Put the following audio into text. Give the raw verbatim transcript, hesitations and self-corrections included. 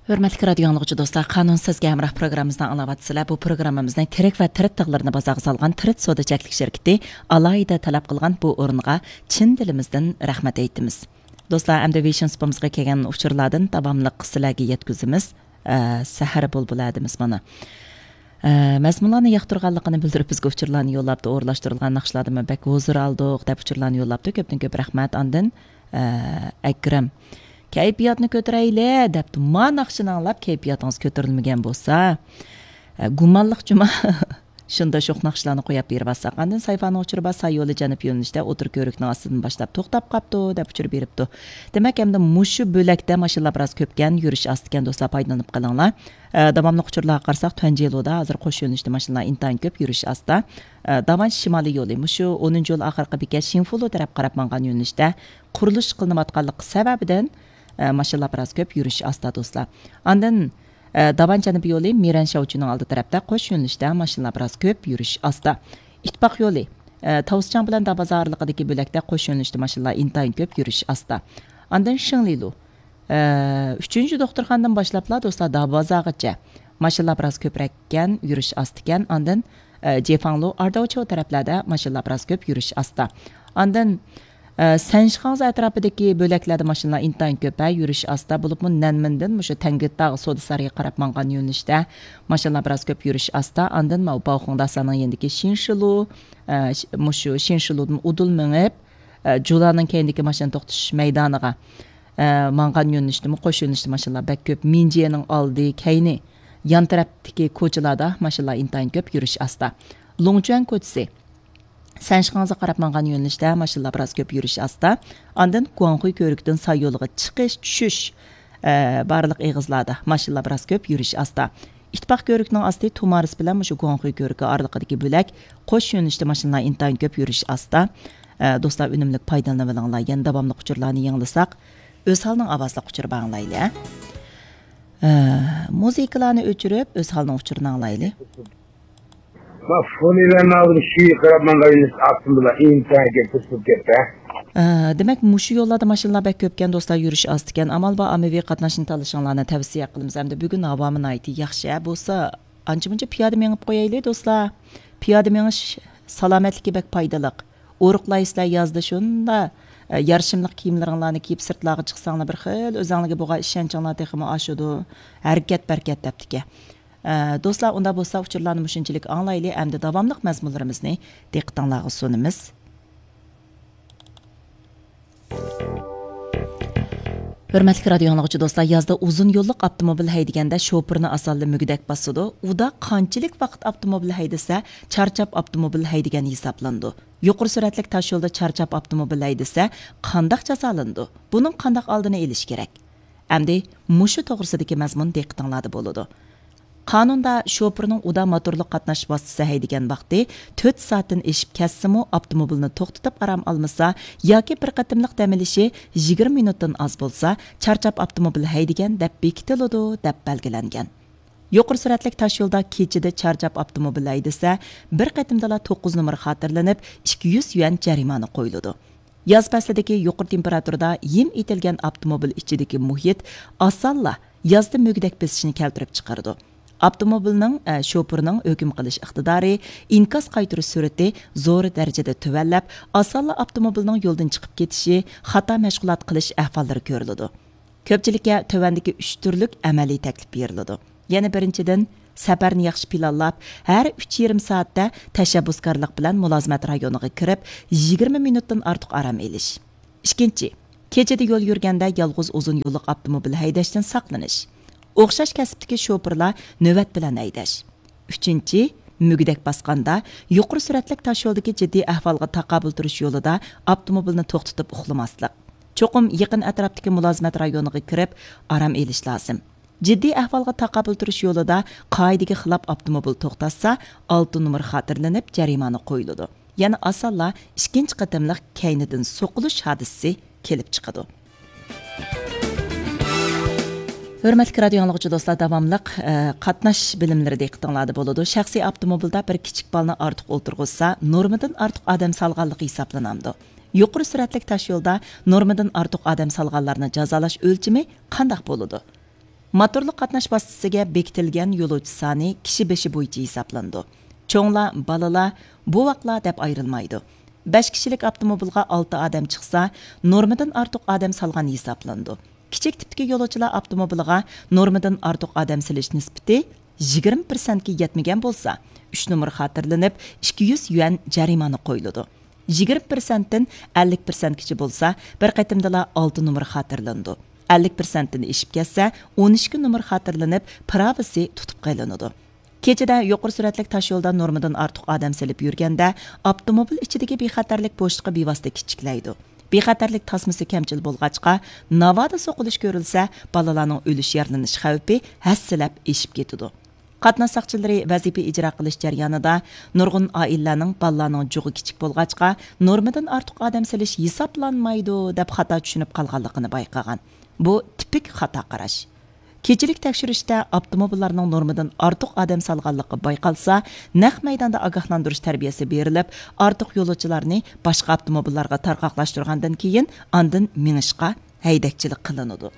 ھۆرمەتلىك رادىيو ئاڭلىغۇچى دوستلار، قانۇنسىز ھەمراھ پروگراممىمىزنى ئاڭلاۋاتىسىلەر. بۇ پروگراممىمىزنىڭ تىرىك ۋە تىرىت تىغلىرىنى بازارغا سالغان تىرىت سودا چەكلىك شىركىتى ئالاھىدە تەلەپ قىلغان بۇ ئورۇنغا چىن دىلىمىزدىن رەھمەت ئېيتىمىز. دوستلار، ئەمدى ۋىشن سۇپىمىزغا كەلگەن ئۇچۇرلاردىن داۋاملىق سىلەرگە يەتكۈزىمىز. ئە، سەھەر بۇلبۇلى دېمىز مانا. ئە، مەزمۇنلارنى ياقتۇرغانلىقىنى بىلدۈرۈپ، بىزگە ئۇچۇرلارنى يوللاپتۇ، ئورۇنلاشتۇرۇلغان ناخشىلاردىنمۇ بەك ھۇزۇر ئالدۇق دەپ ئۇچۇرلارنى يوللاپتۇ. كۆپتىن كۆپ رەھمەت. ئاندىن، ئە، ئەكرەم، كەيپىياتنى كۆتۈرەيلى دەپتۇ. ما ناخشىنى ئاڭلاپ كەيپىياتىڭىز كۆتۈرۈلمىگەن بولسا، ئە، گۇمانلىق جۇما. شۇنداق شوخ ناخشىلارنى قوياپ بېرىۋاتساق. ئاندىن سايفانىڭ ئۇچۇرى بار، ساي يولى جەنۇب يۆنىلىشتە ئوتتۇرا كۆۋرۈكنىڭ ئاستىدىن باشلاپ توختاپ قاپتۇ دەپ ئۇچۇر بېرىپتۇ. دېمەك، ئەمدى مۇشۇ بۆلەكتە ماشىنىلار بىراز كۆپكەن، يۈرۈش ئاستىكەن، دوستلار، پايدىلىنىپ قېلىڭلار. ئە، داۋاملىق ئۇچۇرلارغا قارىساق، تۇەنجى يولىدا ھازىر قوش يۆنىلىشتە ماشىنىلار ئىنتايىن كۆپ، يۈرۈش ئاستا. ئە، داۋان شىمالىي يولى، مۇشۇ ئونىنچى يول ئاخىرقى بېكەت شىنفۇلۇ تەرەپ قاراپ ماڭغان يۆنىلىشتە قۇرۇلۇش قىلىنىۋاتقانلىقى سەۋەبىدىن، ئە، ماشىنىلار بىراز كۆپ، يۈرۈش ئاستا، دوستلار. ئاندىن، ئە، داۋان جەنۇبىي يولى مىرەن شياۋچۈنىڭ ئالدى تەرەپتە قوش يۆنىلىشتە ماشىنىلار بىراز كۆپ، يۈرۈش ئاستا. ئىتتىپاق يولى، ئە، تاۋۇسچاڭ بىلەن دابازا ئارىلىقىدىكى بۆلەكتە قوش يۆنىلىشتە ماشىنىلار ئىنتايىن كۆپ، يۈرۈش ئاستا. ئاندىن شىڭلىلۇ، ئە، ئۈچىنچى دوختۇرخانىدىن باشلاپلا، دوستلار، دابازاغىچە ماشىنىلار بىراز كۆپرەككەن، يۈرۈش ئاستىكەن. ئاندىن، ئە، جېفاڭلۇ، ئارداۋچياۋ تەرەپلەردە ماشىنىلار بىراز كۆپ، يۈرۈش ئاستا. ئاندىن، ئە، سەنشىخاڭزا ئەتراپىدىكى بۆلەكلەردە ماشىنىلار ئىنتايىن كۆپ، ھە، يۈرۈش ئاستا. بولۇپمۇ نەنمىندىن مۇشۇ تەڭگىتاغ سودا سارىيىغا قاراپ ماڭغان يۆنىلىشتە ماشىنىلار بىراز كۆپ، يۈرۈش ئاستا. ئاندىن ماۋۇ باۋخۇڭداساننىڭ يېنىدىكى شىنشىلۇ، ئە، ش-، مۇشۇ شىنشىلۇدىن ئۇدۇل مېڭىپ، ئە، جۇلانىڭ كەينىدىكى ماشىنا توختىتىش مەيدانىغا، ئە، ماڭغان يۆنىلىشتىمۇ، قوش يۆنىلىشتە ماشىنىلار بەك كۆپ. مىنجيېنىڭ ئالدى، كەينى، يان تەرەپتىكى كوچىلاردا ماشىنىلار ئىنتايىن كۆپ، يۈرۈش ئاستا. لۇڭچۈەن كوچىسى، سەنشىخاڭزا قاراپ ماڭغان يۆنىلىشتە ماشىنىلار بىراز كۆپ، يۈرۈش ئاستا. ئاندىن گۇاڭخۇي كۆۋرۈكىدىن ساي يولىغا چىقىش، چۈشۈش، ئە، بارلىق ئېغىزلاردا ماشىنىلار بىراز كۆپ، يۈرۈش ئاستا. ئىتتىپاق كۆۋرۈكنىڭ ئاستى تۇمارىس بىلەن مۇشۇ گۇاڭخۇي كۆۋرۈكى ئارىلىقىدىكى بۆلەك قوش يۆنىلىشتە ماشىنىلار ئىنتايىن كۆپ، يۈرۈش ئاستا. ئە، دوستلار، ئۈنۈملۈك پايدىلىنىۋېلىڭلار. يەنە داۋاملىق ئۇچۇرلارنى يېڭىلىساق، ئۆزھالنىڭ ئاۋازلىق ئۇچۇرى بار، ئاڭلايلى، ھە. ئە، مۇزىكىلارنى ئۆچۈرۈپ، ئۆزھالنىڭ ئۇچۇرىنى ئاڭلايلى. ما فونىلارنى ئالدىم، شۇ قاراپ ماڭغان ئاستىم بىلەن ئىنتايىن كۆپ، توسۇپ كەتتى. ئە، دېمەك، مۇشۇ يوللاردا ماشىنىلار بەك كۆپكەن، دوستلار، يۈرۈش ئاستىكەن. ئامال بار، ئاممىۋى قاتناشنى تاللىشىڭلارنى تەۋسىيە قىلىمىز. ئەمدى بۈگۈن ھاۋامۇ ناھايىتى ياخشى، ھە، بولسا ئانچە-مۇنچە پىيادە مېڭىپ قويايلى، دوستلار. پىيادە مېڭىش سالامەتلىككە بەك پايدىلىق. ئورۇقلايسىلەر يازدا شۇنداق، ئە، يارىشىملىق كىيىملىرىڭلارنى كىيىپ سىرتلارغا چىقساڭلار، بىر خىل ئۆزۈڭلارگە بولغان ئىشەنچىڭلار تېخىمۇ ئاشىدۇ. ھەرىكەت بەرىكەت دەپتىكەن. ئە، دوستلار، ئۇنداق بولسا ئۇچۇرلارنى مۇشۇنچىلىك ئاڭلايلى، ئەمدى داۋاملىق مەزمۇنلىرىمىزنى دىققىتىڭلارغا سۇنىمىز. ھۆرمەتلىك رادىيو ئاڭلىغۇچى دوستلار، يازدا ئۇزۇن يوللۇق ئاپتوموبىل ھەيدىگەندە شوپۇرنى ئاسانلا مۈگدەك باسىدۇ. ئۇدا قانچىلىك ۋاقىت ئاپتوموبىل ھەيدىسە، چارچاپ ئاپتوموبىل ھەيدىگەن ھېسابلىنىدۇ. يۇقىرى سۈرئەتلىك تاشيولدا چارچاپ ئاپتوموبىل ھەيدىسە، قانداق جازالىنىدۇ؟ بۇنىڭ قانداق ئالدىنى ئېلىش كېرەك؟ ئەمدى مۇشۇ توغرىسىدىكى مەزمۇن دىققىتىڭلاردا بولىدۇ. قانۇندا شوپۇرنىڭ ئۇدا موتورلۇق قاتناش ۋاسىتىسى ھەيدىگەن ۋاقتى تۆت سائەتتىن ئېشىپ كەتسىمۇ، ئاپتوموبىلنى توختىتىپ ئارام ئالمىسا ياكى بىر قېتىملىق دەم ئېلىشى يىگىرمە مىنۇتتىن ئاز بولسا، چارچاپ ئاپتوموبىل ھەيدىگەن دەپ بېكىتىلىدۇ، دەپ بەلگىلەنگەن. يۇقىرى سۈرئەتلىك تاشيولدا كېچىدە چارچاپ ئاپتوموبىل ھەيدىسە، بىر قېتىمدىلا توققۇز نومۇر خاتىرىلىنىپ، ئىككى يۈز يۈەن جەرىمانە قويۇلىدۇ. ياز پەسلىدىكى يۇقىرى تېمپېراتۇرىدا ھىم ئېتىلگەن ئاپتوموبىل ئىچىدىكى مۇھىت ئاسانلا يازدا مۈگدەك بېسىشنى كەلتۈرۈپ چىقىرىدۇ. ئاپتوموبىلنىڭ، ئە، شوپۇرنىڭ ھۆكۈم قىلىش ئىقتىدارى ئىنكاس قايتۇرۇش سۈرئىتى زور دەرىجىدە تۆۋەنلەپ، ئاسانلا ئاپتوموبىلنىڭ يولدىن چىقىپ كېتىشى، خاتا مەشغۇلات قىلىش ئەھۋاللىرى كۆرۈلىدۇ. كۆپچىلىككە تۆۋەندىكى ئۈچ تۈرلۈك ئەمەلىي تەكلىپ بېرىلىدۇ. يەنى بىرىنچىدىن، سەپەرنى ياخشى پىلانلاپ، ھەر ئۈچ يېرىم سائەتتە تەشەببۇسكارلىق بىلەن مۇلازىمەت رايونىغا كىرىپ، يىگىرمە مىنۇتتىن ئارتۇق ئارام ئېلىش. ئىككىنچى، كېچىدە يول يۈرگەندە يالغۇز ئۇزۇن يوللۇق ئاپتوموبىل ھەيدەشتىن ساقلىنىش. ئوخشاش كەسىپتىكى شوپۇرلار نۆۋەت بىلەن ھەيدەش. ئۈچىنچى، مۈگدەك باسقاندا، يۇقىرى سۈرئەتلىك تاشيولدىكى جىددىي ئەھۋالغا تاقابىل تۇرۇش يولىدا ئاپتوموبىلنى توختىتىپ ئۇخلىماسلىق. چوقۇم يېقىن ئەتراپتىكى مۇلازىمەت رايونىغا كىرىپ ئارام ئېلىش لازىم. جىددىي ئەھۋالغا تاقابىل تۇرۇش يولىدا قائىدىگە خىلاپ ئاپتوموبىل توختاتسا، ئالتە نومۇر خاتىرىلىنىپ جەرىمانە قويۇلىدۇ. يەنە ئاسانلا ئىككىنچى قېتىملىق كەينىدىن سوقۇلۇش ھادىسىسى كېلىپ چىقىدۇ. ھۆرمەتلىك رادىيو ئاڭلىغۇچى دوستلار، داۋاملىق، ئە، قاتناش بىلىملىرى دىققىتىڭلاردا بولىدۇ. شەخسىي ئاپتوموبىلدا بىر كىچىك بالىنى ئارتۇق ئولتۇرغۇزسا، نورمىدىن ئارتۇق ئادەم سالغانلىقى ھېسابلىنامدۇ؟ يۇقىرى سۈرئەتلىك تاشيولدا نورمىدىن ئارتۇق ئادەم سالغانلارنى جازالاش ئۆلچىمى قانداق بولىدۇ؟ موتورلۇق قاتناش ۋاسىتىسىگە بېكىتىلگەن يولۇچى سانى كىشى بېشى بويىچە ھېسابلىنىدۇ. چوڭلار، بالىلار، بوۋاقلار دەپ ئايرىلمايدۇ. بەش كىشىلىك ئاپتوموبىلغا ئالتە ئادەم چىقسا، نورمىدىن ئارتۇق ئادەم سالغان ھېسابلىنىدۇ. كىچىك تىپتىكى يولۇچىلار ئاپتوموبىلىغا نورمىدىن ئارتۇق ئادەم سېلىش نىسبىتى يىگىرمە پىرسەنتكە يەتمىگەن بولسا، ئۈچ نومۇر خاتىرىلىنىپ، ئىككى يۈز يۈەن جەرىمانە قويۇلىدۇ. يىگىرمە پىرسەنتتىن ئەللىك پىرسەنتكىچە بولسا، بىر قېتىمدىلا ئالتە نومۇر خاتىرىلىنىدۇ. ئەللىك پىرسەنتتىن ئېشىپ كەتسە، ئون ئىككى نومۇر خاتىرىلىنىپ، پىراۋىسى تۇتۇپ قېلىنىدۇ. كېچىدە يۇقىرى سۈرئەتلىك تاشيولدا نورمىدىن ئارتۇق ئادەم سېلىپ يۈرگەندە، ئاپتوموبىل ئىچىدىكى بىخەتەرلىك بوشلۇقى بىۋاسىتە كىچىكلەيدۇ. بىخەتەرلىك تاسمىسى كەمچىل بولغاچقا، ناۋادا سوقۇلۇش كۆرۈلسە، بالىلارنىڭ ئۆلۈش، يارىلىنىش خەۋپى ھەسسىلەپ ئېشىپ كېتىدۇ. قاتناش ساقچىلىرى ۋەزىپە ئىجرا قىلىش جەريانىدا نۇرغۇن ئائىلىلەرنىڭ بالىلارنىڭ جۇغى كىچىك بولغاچقا، نورمىدىن ئارتۇق ئادەم سېلىش ھېسابلانمايدۇ، دەپ خاتا چۈشىنىپ قالغانلىقىنى بايقىغان. بۇ تىپىك خاتا قاراش. كېچىلىك تەكشۈرۈشتە ئاپتوموبىللارنىڭ نورمىدىن ئارتۇق ئادەم سالغانلىقى بايقالسا، نەق مەيداندا ئاگاھلاندۇرۇش تەربىيەسى بېرىلىپ، ئارتۇق يولۇچىلارنى باشقا ئاپتوموبىللارغا تارقاقلاشتۇرغاندىن كېيىن، ئاندىن مېڭىشقا ھەيدەكچىلىك قىلىنىدۇ.